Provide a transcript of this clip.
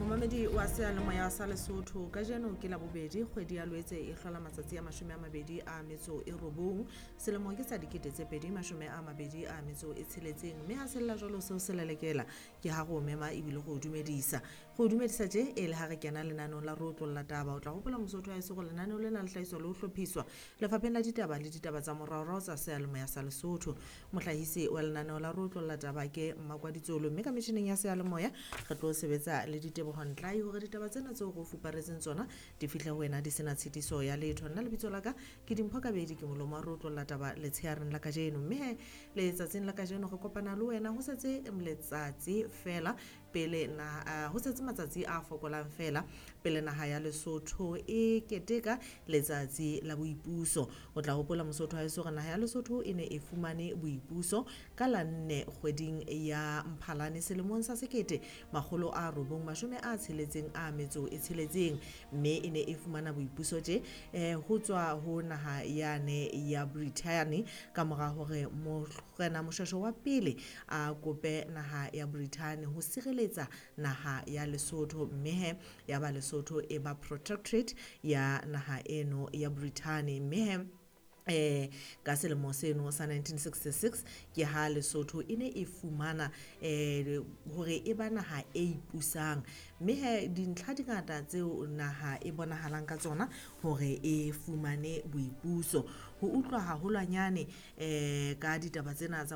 Momamedi wa seyalemoya sa Lesotho, kajeno ke Labobedi, kgwedi ya Loetse e hlola matsatsi a 29 selemo ke sa 2026, mme ha sella jwalo seo se lelekela ke ha go mema ebile go dumedisa, go dumedisa tje e le ha re kena lenaneong la Re Otlolla Taba. O tla hopola, Mosotho wa eso, go lenaneo lena le hlahiswa le ho hlophiswa lefapheng la ditaba le ditaba tsa moraorao tsa seyalemoya sa Lesotho. Mohlahisi wa lenaneo la Re Otlolla Taba ke Mmakwaditsolo, mme ka metjhineng ya seyalemoya re tlo sebetsa le Ditebogo Ntlai hore ditaba tsena tseo re o fuparetseng tsona di fihle ho wena di sena tshitiso ya letho. Nna lebitso la ka ke Dimpho Kabedi, ke molomo wa Re Otlolla Taba letsheareng la kajeno. Mme he, letsatsing la kajeno re kopana le wena ho setse letsatsi fela pele na ho setse matsatsi a fokolang fela pele naha ya Lesotho e keteka letsatsi la boipuso. O tla hopola, Mosotho wa heso, hore naha ya Lesotho e ne e fumane boipuso ka la 4 kgweding ya Mphalane selemong sa 1966, mme e ne e fumana boipuso tje ho tswa ho naha yane ya Brithani ka mora hore Morena Moshweshwe wa pele a kope naha ya Brithani ho sireletsa naha ya Lesotho, mme he ya ba Lesotho e ba protectorate ya naha eno ya Brithani. Mme he ka selemo seno sa 1966 ke ha Lesotho e ne e fumana hore e ba naha e ipusang. Mme he dintlha di ngata tseo naha e bonahalang ka tsona hore e fumane boipuso. Ho utlwa haholwanyane ka ditaba tsena tsa